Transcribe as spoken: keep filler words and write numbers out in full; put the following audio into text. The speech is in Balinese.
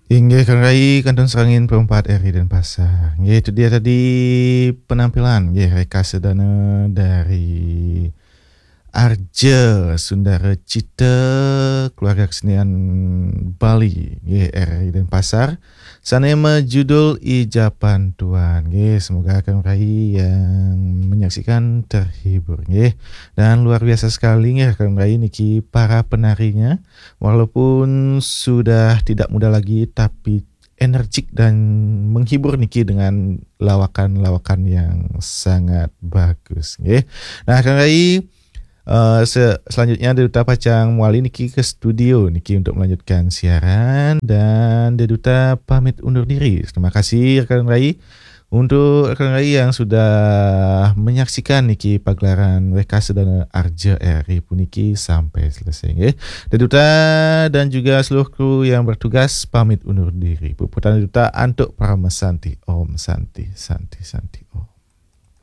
Inggih, Kang Rai, kantun serangin perempat R I Denpasar. Inggih, itu dia tadi penampilan, inggih, Reka Sedana dari Arja Sundara Cita, keluarga kesenian Bali, inggih, R I Denpasar. Sane majudul Ijapan Tuan. Inggih, semoga Kang Rai yang menyaksikan terhibur, inggih. Dan luar biasa sekali, inggih, Kang Rai, niki para penarinya. Walaupun sudah tidak muda lagi, tapi energik dan menghibur niki dengan lawakan-lawakan yang sangat bagus, nggih. Nah, Kang Rai, eh, se-, selanjutnya Deduta pacang mawali niki ke studio niki untuk melanjutkan siaran, dan Deduta pamit undur diri. Terima kasih, Kang Rai, untuk Kang Rai yang sudah menyaksikan niki pagelaran Reka Sedana Arja R I puniki sampai selesai, nggih. Deduta dan juga seluruh kru yang bertugas pamit undur diri. Puputang Deduta antuk Parama Santi. Om Santi, Santi, Santi.